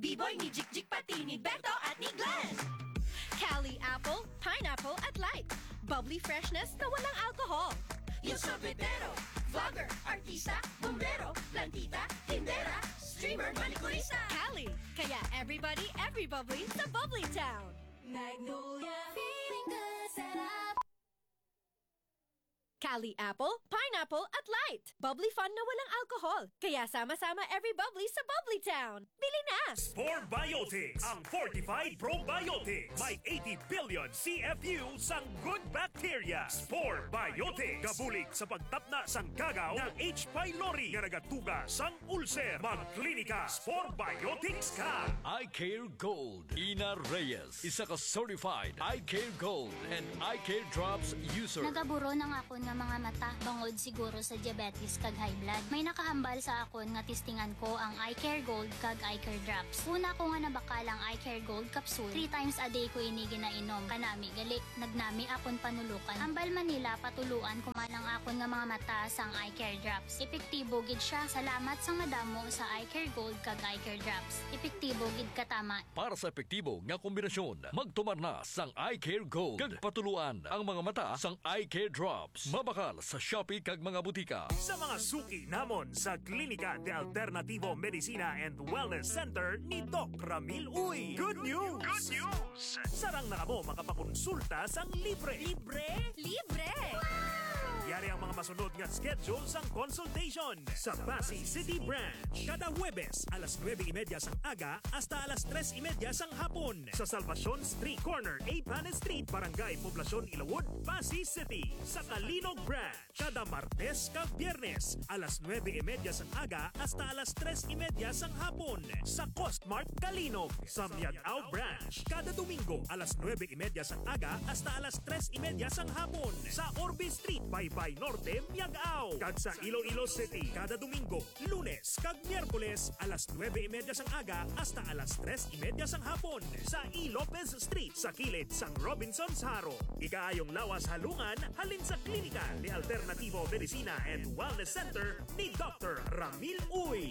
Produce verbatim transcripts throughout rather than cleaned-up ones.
Iboy ni Jikjik pati ni Beto at ni Glenn. Cali apple, pineapple at light. Bubbly freshness na walang alcohol. Yung sorbetero, vlogger, artista, bombero, plantita, tindera, streamer, manicurista. Cali, kaya everybody, every bubbly sa Bubbly Town. Magnolia, feeling good, sarap. Cali apple, pineapple at light. Bubbly fun na walang alcohol. Kaya sama-sama every bubbly sa Bubbly Town. Bili na! Spore Biotics, ang fortified probiotics. May eighty billion C F U sang good bacteria. Spore Biotics, gabulig sa pagtapna sang kagaw nga H. pylori nga nagatuga sang ulcer. Magklinika Spore Biotics ka. Eye Care Gold. Ina Reyes, isa ka certified Eye Care Gold and Eye Care Drops user. Nagaburon ang akon nga mga mata bangod siguro sa diabetes kag high blood. May nakahambal sa akon nga testingan ko ang Eye Care Gold kag Eye Care Drops. Una ko nga nabakal ang Eye Care Gold capsule. Three times a day ko ini ginainom. Kanami gali, nagnami akon panulukan. Hambal man nila patuluan ko man ang akon nga mga mata sang Eye Care Drops. Epektibo gid siya. Salamat sang madamo sa Eye Care Gold kag Eye Care Drops. Epektibo gid katama. Para sa epektibo nga kombinasyon, magtumar na sang Eye Care Gold kag patuluan ang mga mata sang Eye Care Drops. Mabakal sa Shopee kag mga butika. Sa mga suki namon sa Klinika de Alternativo Medicina and Wellness Center ni Doc Ramil Uy. Good news! Good news! Sarang na kamo makapakonsulta sang libre. Libre? Libre! Yari ang mga masunod nga schedule sang consultation. Sa Passi City Branch, kada Huwebes, alas nuebe y media sang aga hasta alas tres y media sang hapon. Sa Salvacion Street, corner Apanes Street, Barangay Poblacion, Ilawod, Passi City. Sa Calinog Branch, kada Martes kag Biyernes, alas nuebe y media sang aga hasta alas tres y media sang hapon. Sa Costmart Calinog, sa Miag-ao Branch, kada Domingo, alas nuebe y media sang aga hasta alas tres y media sang hapon. Sa Orbe Street, Baybay Norte, Miag-ao. Kag sa Iloilo City, kada Domingo, Lunes kag Miyerkules, alas nuebe y media sang aga hasta alas tres y media sang hapon, sa E. Lopez Street, sa kilid sang Robinsons Jaro. Ikaayong lawas halungan halin sa Klinika ni Alternativo Medicina and Wellness Center ni Doctor Ramil Uy.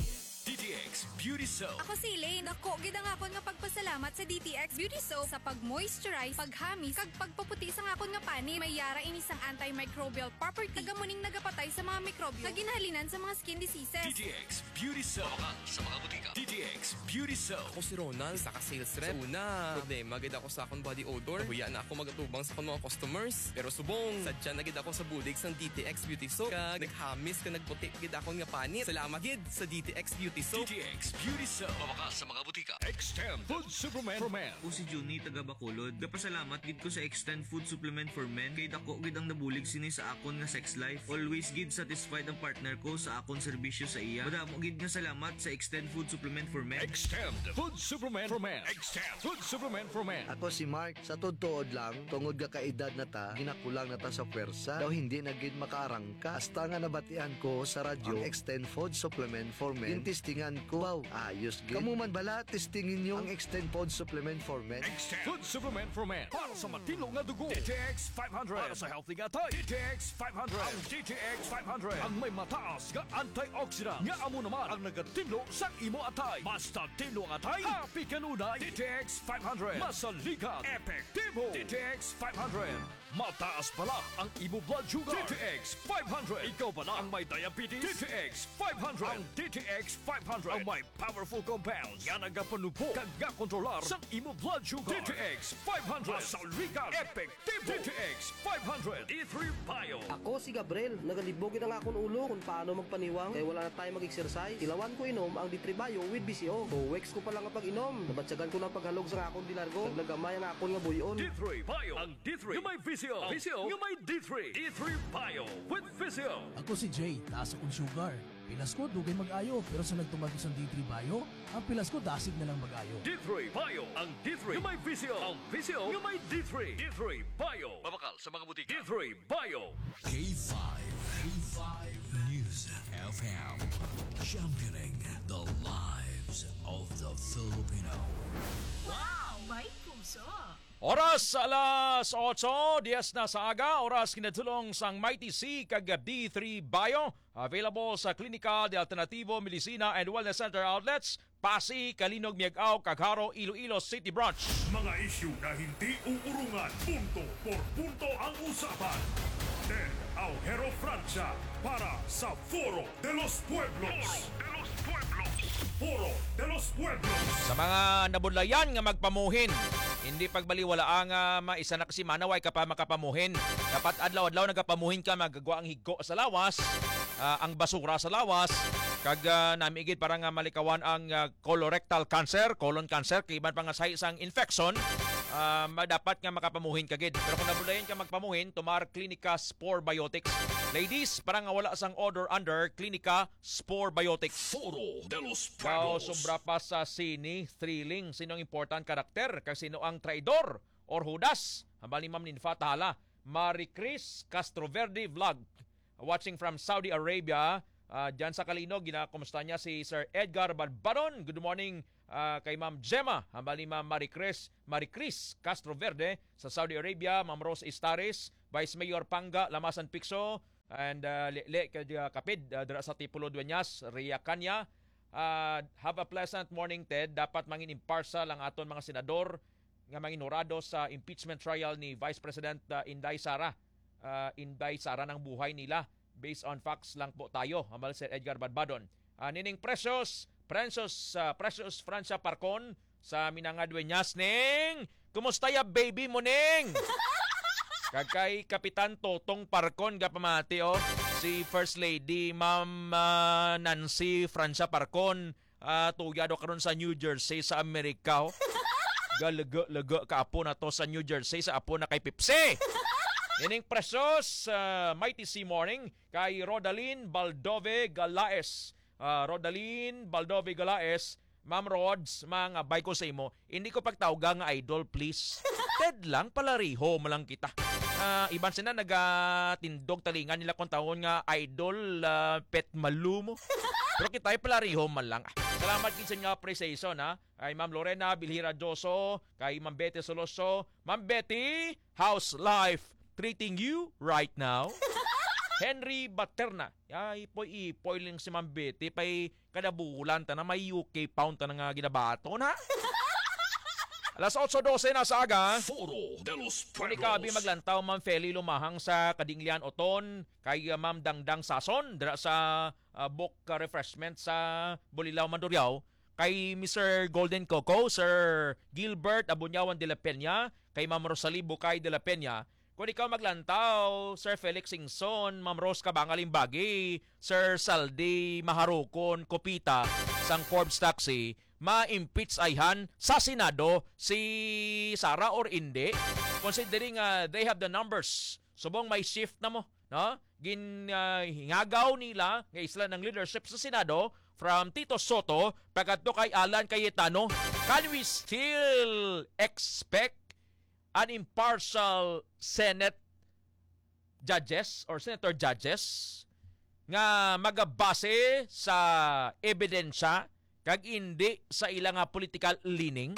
D T X Beauty Soap. Ako si Elaine. Dako gid ang akon nga pagpasalamat sa D T X Beauty Soap sa pag-moisturize, paghamis, kag pagpaputi sang akon nga panit. May yara ini sang antimicrobial property, nga amo ning nagapatay sa mga mikrobyo nga ginahalinan sa mga skin diseases. D T X Beauty Soap. Mabakal sa mga butika. D T X Beauty Soap. Ako si Ronald, isa ka sales rep. Sa una, problema gid ako sa akong body odor. Nahuya na ako mag-atubang sa akong mga customers. Pero subong, sadya na gid ako sa bulig sang D T X Beauty Soap. Kag naghamis kag nagputi gid akon nga panit. Salamat gid sa D T X Beauty Soap. D T X Beauty Soap. Mabakal sa mga butika. Extend Food Supplement for Men. Ako si Junie, taga Bacolod. Gapasalamat gid ko sa Extend Food Supplement for Men kay dako gid ang nabulig sini sa akon nga sex life. Always gid satisfied ang partner ko sa akon serbisyo sa iya. Madamo gid nga salamat sa Extend Food Supplement for Men. Extend Food Supplement for Men. Extend Food Supplement for Men. Ako si Mark. Sa tuod-tuod lang, tungod nga kaedad na ta, ginakulang na ta sa pwersa. Daw hindi na gid makaarangka. Hasta nga nabatian ko sa radyo ang Extend Food Supplement for Men, gintistingan ko. Wow, ayos gid. Kamo man bala, testingin nyo ang Extend Food Supplement for Men. Extend Food Supplement for Men. Para sa matino nga dugo, D T X five hundred. Para sa healthy nga atay, D T X five hundred. Ang D T X five hundred ang may mataas nga antioxidant nga amo naman ang nagatinlo sa imo atay. Mas Sa tinlo nga atay, happy kanunay. D T X five hundred. Masaligan. Epektibo. D T X five hundred. Mataas bala ang imo blood sugar. D T X five hundred. Ikaw bala ang may diabetes? D T X five hundred. Ang D T X five hundred ang may powerful compounds nga nagapanupho kag nga kontrolar sa imo blood sugar. D T X five hundred. Masaligan. Epektibo. D T X five hundred. D three Bio. Ako si Gabriel. Nagalibog gid ang akon ulo kung paano magpaniwang kay wala na tayo mag-exercise. Tilawan ko inom ang D three Bio with V C O. Two weeks ko pa lang nga pag-inom, nabatyagan ko na ang paghalog sa akon di largo. Kag nagamay ang akon nga buy-on. D three Bio. Ang D three nga may V C O. V C O nga may D three. D three Bio with V C O. Ako si Jay, taas akong sugar. Pilas ko, dugay mag-ayo, pero sa nagtumar ko sang D three Bio, ang pilas ko dasig na lang mag-ayo. D three Bio, ang D three nga may V C O, ang V C O nga may D three. D three Bio. Mabakal sa mga butika. D three Bio. K five, K five News F M, championing the lives of the Filipino. Wow! May puso! Oras alas otso dies na sa aga, oras kinatulong sang Mighty C kag D three Bio. Available sa Klinika de Alternativo Medicina and Wellness Center outlets, Passi, Calinog, Miag-ao, kag Jaro, Iloilo City Branch. Mga isyu na hindi uurungan, punto por punto ang usapan. Ted Aujero Francia para sa Foro de los Pueblos. Foro de los Pueblos. Foro de los Pueblos. Sa mga nabudlayan nga magpamuhin, hindi pagbaliwala nga maisa na ka semana way ka pa makapamuhin. Dapat adlaw-adlaw nagapamuhin ka, magagwa ang higko sa lawas, ah, ang basura sa lawas, kag, ah, nami gid para nga malikawan ang, ah, colorectal cancer, colon cancer, kag iban pa nga sahi sang infection, ah, ma-, dapat nga makapamuhin ka gid. Pero kung nabudlayan ka magpamuhin, tomar Clinica Spore Biotics. Ladies, para nga wala sang odor under, Clinica Spore Biotics. Foro de los Wow, Pueblos. Sobra pa sa sini, thrilling. Sino ang important karakter? Kag sino ang traidor or hudas? Hambal ni Ma'am Ninfa Tahala. Marie Chris Castroverde Vlog. Watching from Saudi Arabia. Ah, dyan sa Calinog, ginakumusta niya si Sir Edgar Badbadon. Good morning, ah, kay Ma'am Gemma. Hambal ni Ma'am Marie Chris, Marie Chris Castroverde sa Saudi Arabia. Ma'am Rose Istares, Vice Mayor Panga, Lamasan Picso, and, ah, Lele, kay, ah, Kapid, ah, dira sa Tipolo Dueñas, Ria Canya. Ah, have a pleasant morning, Ted. Dapat mangin impartial ang aton mga senador nga manginhurado sa impeachment trial ni Vice President, ah, Inday Sara. Ah, Inday Sara, ang buhay nila. Based on facts lang po tayo, hambal Sir Edgar Badbadon. Ah, nining Precious, Precious, ah, Precious Francia Parcon, sa Minanga Dueñas, Ning! Kumusta ya baby mo, Ning? Kag kay Kapitan Totong Parcon, gapamati, oh. Si First Lady, Ma'am, ah, Nancy Francia Parcon, ah, tuya daw karon sa New Jersey, sa Amerika, oh. Galaga-laga ka apo na to sa New Jersey, sa apo na kay Pepsi. Ining Precious, ah, Mighty C Morning, kay Rodalyn Baldove Galaes. Ah, Rodalyn Baldove Galaes, Ma'am Rods, mga bay ko sa imo, hindi ko pagtawga nga idol, please. Ted lang, palariho mo lang kita. Ah, iban sila nagatindog talingan nila kung tawon nga idol, ah, pet malumo. Pero kita ay palariho man lang. Salamat gid sa inyo appreciation, ha. Kay Ma'am Lorena Bilhira Joso, kay Ma'am Betty Soloso. Ma'am Betty, how's life treating you right now? Henry Baterna. Ay, ipoy-ipoy lang si Ma'am Betty. Pay kada bulan ta na may U K pound ta na nga ginabaton, ha? Alas otso dose na sa aga. Foro de los Kung ikaw, abi, Pueblos. Maglantaw, Ma'am Feli Lumahang sa Kadinglian Oton, kay, uh, Ma'am Dangdang Sason, dira sa, uh, book, uh, refreshment sa Bulilao, Mandurriao, kay Mister Golden Coco, Sir Gilbert Abunyawan de la Peña, kay Ma'am Rosalie Bucay de la Peña, Kung ikaw maglantaw, Sir Felix Singson, Ma'am Rose Cabanga Limbagi, Sir Saldi Maharukon Copita, sang Forbes Taxi, ma-impeach ayhan sa Senado si Sara or indi? Considering, ah, they have the numbers. Subong may shift na mo, no? Gin, ah, hingagaw nila nga isla ng leadership sa Senado from Tito Soto pagkadto kay Alan Cayetano. Can we still expect an impartial Senate judges or senator judges nga magabase sa ebidensya kag indi sa ila nga political leaning?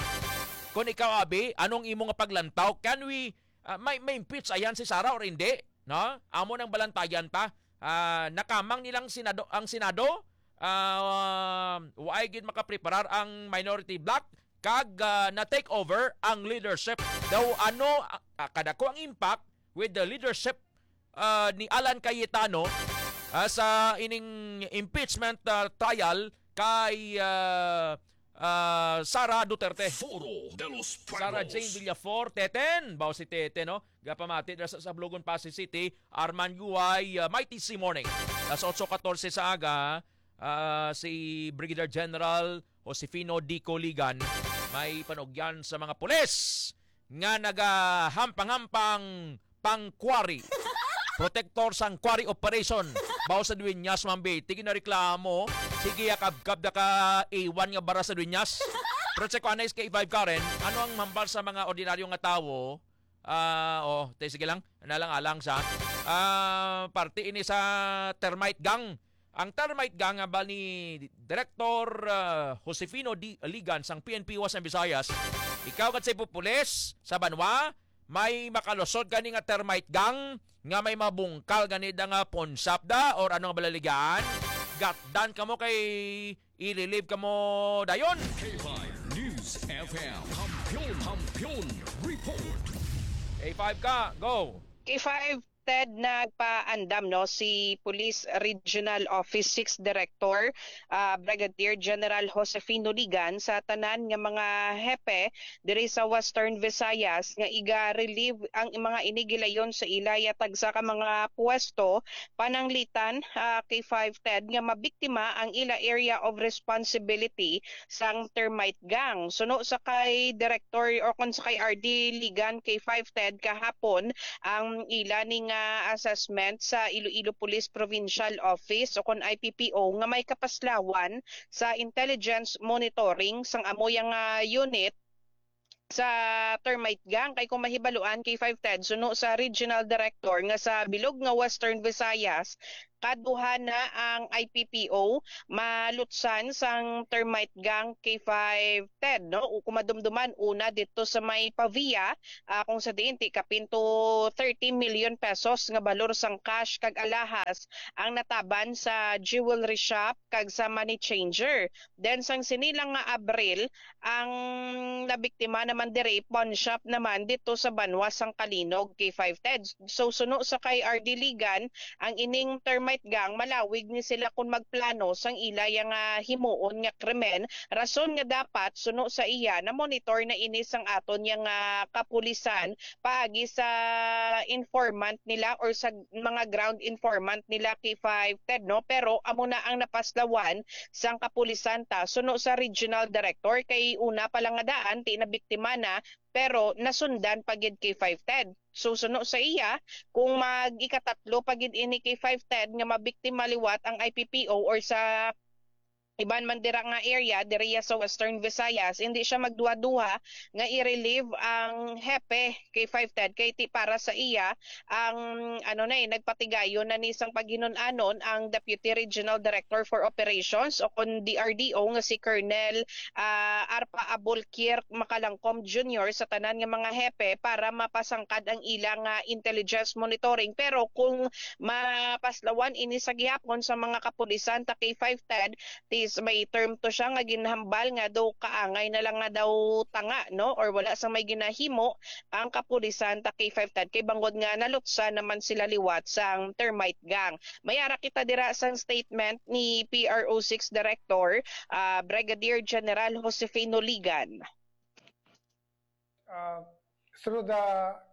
Kung ikaw, abi, anong imo nga paglantaw? Can we, ah, may, may impeach ayan si Sara or hindi? No? Amo nang balantayan ta. Ah, nakamang nilang Senado, ang Senado, ah, waay gid makapreparar ang minority bloc kag, ah, na-take over ang leadership. Daw ano, ah, ah, kadako ang impact with the leadership, ah, ni Alan Cayetano, ah, sa ining impeachment, ah, trial kay, ah, ah, Sara Duterte. Foro de los Sara Pueblos. Jane Villafor, Teten. Bao si Teten, no? Gapamati dira sa Sablogon, Passi City, Arman Guay, ah, Mighty C Morning. Alas otso katorse sa aga, ah, si Brigadier General Josefino D. Coligan may panugyan sa mga pulis nga nagahampang-hampang pang quarry. Protector sang quarry operation. Bao sa Dueñas, Ma'am Betty, ginareklamo. Sige, ya, kabkab na ka iwan nga bara sa Dueñas. Pero sa kuan na S K five Karen, ano ang hambal sa mga ordinaryo nga tawo? Ah, oh, te, sige lang. Nalang-alang sa, ah, parte ini sa termite gang. Ang termite gang, ah, bal ni Director, ah, Josefino D. Ligan sang P N P Western Visayas, Ikaw kat sa ipupulis sa banwa, may makalusot gani nga termite gang nga may mabungkal gani da nga pawn shop da or ano nga balaligan? Gatdan kamo kay ililib kamo dayon. K five News F M. Kampiyon, Kampiyon Report. K five ka, go! K five, Ted, nagpaandam, no, si Police Regional Office six Director, ah, Brigadier General Josefino Ligan sa tanan nga mga hepe diri sa Western Visayas nga iga-relieve ang mga inigilayon sa ila ya tagsa ka mga puwesto, pananglitan, ah, K five, Ted, nga mabiktima ang ila area of responsibility sang termite gang. Suno sa kay Director o kon sa kay R D Ligan, K five, Ted, kahapon ang ila ni nga assessment sa Iloilo Police Provincial Office o kon I P P O nga may kapaslawan sa intelligence monitoring sang amo yang, ah, unit sa termite gang. Kay kung mahibaluan, K five, Ted, suno sa regional director nga sa bilog nga Western Visayas, kaduha na ang I P P O malutsan sang termite gang, K five, Ted, no? O kung madumduman, una dito sa may Pavia, ah, kung sa diin ti kapin to thirty million pesos nga balor sang cash kag alahas ang nataban sa jewelry shop kag sa money changer. Then sang sini lang nga Abril, ang nabiktima naman diri, pawn shop naman dito sa banwa sang Calinog, K five, Ted. So, suno sa kay R D Ligan, ang ining termite gang, malawig ni sila kung magplano sang ila yang, ah, himuon nga krimen. Rason nga dapat, suno sa iya, na-monitor na ini sang aton yang, ah, kapulisan paagi sa informant nila or sa mga ground informant nila, K five, Ted, no? Pero amo na ang napaslawan sang kapulisan ta, suno sa regional director, kay una pa lang nga daan, ti nabiktima na, pero nasundan pa gid, K five, Ted. So, suno sa iya, kung mag-ikatatlo pa gid ini, K five, Ted, nga mabiktima liwat ang I P P O or sa iban man dira nga area, diriya sa Western Visayas, hindi siya magduha-duha nga i-relieve ang hepe, K five, Ted, kay ti para sa iya, ang, ano na eh, nagpatigayon na ni sang paghinun-anon ang Deputy Regional Director for Operations o kon D R D O nga si Colonel, ah, Arpa Abulkir Macalangcom Junior sa tanan nga mga hepe para mapasangkad ang ila nga intelligence monitoring. Pero kung mapaslawan ini sa gihapon sa mga kapulisan ta, K five, Ted, tis may term to siya nga ginhambal nga daw kaangay na lang nga daw tanga, no, or wala sang may ginahimo ang kapulisan ta, K five, Ted, kay bangod nga nalutsan naman sila liwat sang termite gang. Mayara kita dira sang statement ni P R O six Director, ah, Brigadier General Josefino Ligan. Uh, through the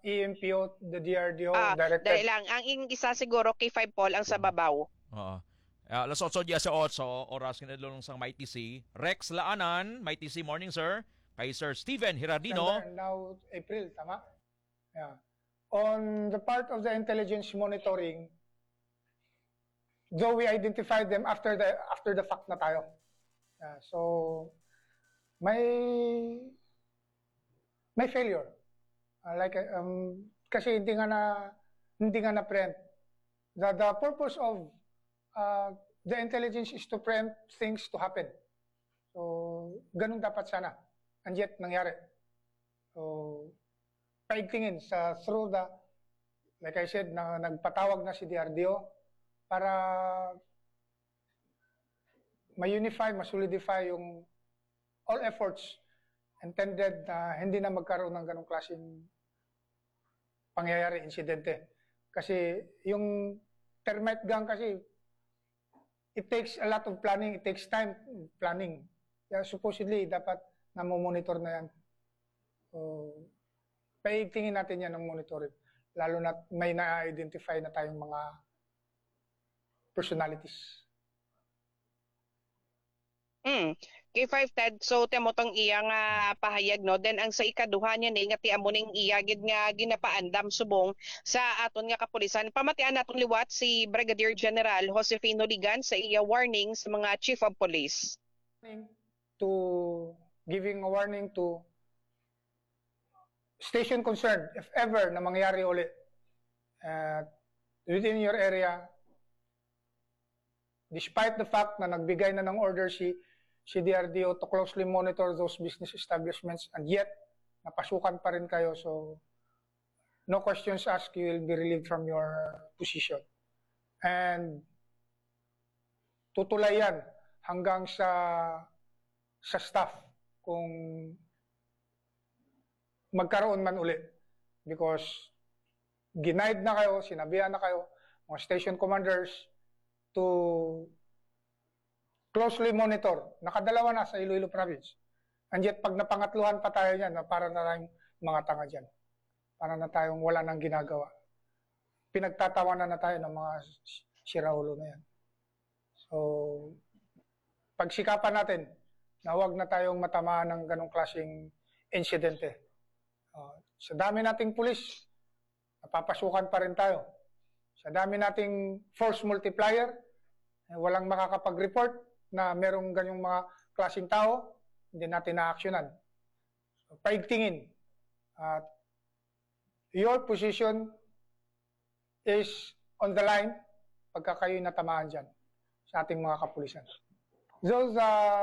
E M P O, the D R D O, ah, directed. Dali lang. Ang ing isa siguro, K five, Paul, ang sa babaw. Oo. Ah, alas otso diyes otso, oras kinadlong sang Mighty C. Rex Laanan, Mighty C, morning, sir. Kay Sir Steven Hirardino. September, now April, tama? Yeah. On the part of the intelligence monitoring, though we identified them after the, after the fact na tayo. Yeah, so, may, may failure. Uh, like, um, kasi hindi nga na, hindi nga na-preempt. The, the purpose of, uh, the intelligence is to preempt things to happen. So, ganun dapat sana. And yet, nangyari. So, paigtingin sa, through the, like I said, na nagpatawag na si D R D O para ma-unify, ma-solidify yung all efforts intended na hindi na magkaroon ng ganong klaseng pangyayari, insidente. Kasi yung termite gang kasi, it takes a lot of planning, it takes time planning. Kaya supposedly, dapat namomonitor na yan. So, paigtingin natin yan ng monitoring. Lalo na may na-identify na tayong mga personalities. Mm. K five, Ted, so temo tong iya nga pahayag, no? Then ang sa ikaduha niya ni nga ti amo ning iya gid nga ginapaandam subong sa aton nga kapulisan. Pamatian naton liwat si Brigadier General Josefino Ligan sa iya warning sa mga chief of police. To giving a warning to station concerned, if ever na mangyari uli, uh, within your area, despite the fact na nagbigay na ng order si, si D R D O to closely monitor those business establishments, and yet napasukan pa rin kayo. So, no questions asked, you will be relieved from your position. And tutulay yan hanggang sa sa staff kung magkaroon man uli, because ginaid na kayo, sinabihan na kayo, mga station commanders, to closely monitor. Nakadalawa na sa Iloilo Province. And yet, pag napangatluhan pa tayo niyan, na para na tayong mga tanga dyan. Para na tayong wala nang ginagawa. Pinagtatawanan na tayo ng mga siraulo na yan. So, pagsikapan natin na huwag na tayong matamaan ng ganong klaseng insidente. Uh, sa dami nating pulis, napapasukan pa rin tayo. Sa dami nating force multiplier, eh, walang makakapag-report na merong ganyong mga klaseng tao, hindi natin na-actionan. So, paigtingin. At your position is on the line pagka kayo'y natamaan dyan sa ating mga kapulisan. Those, uh,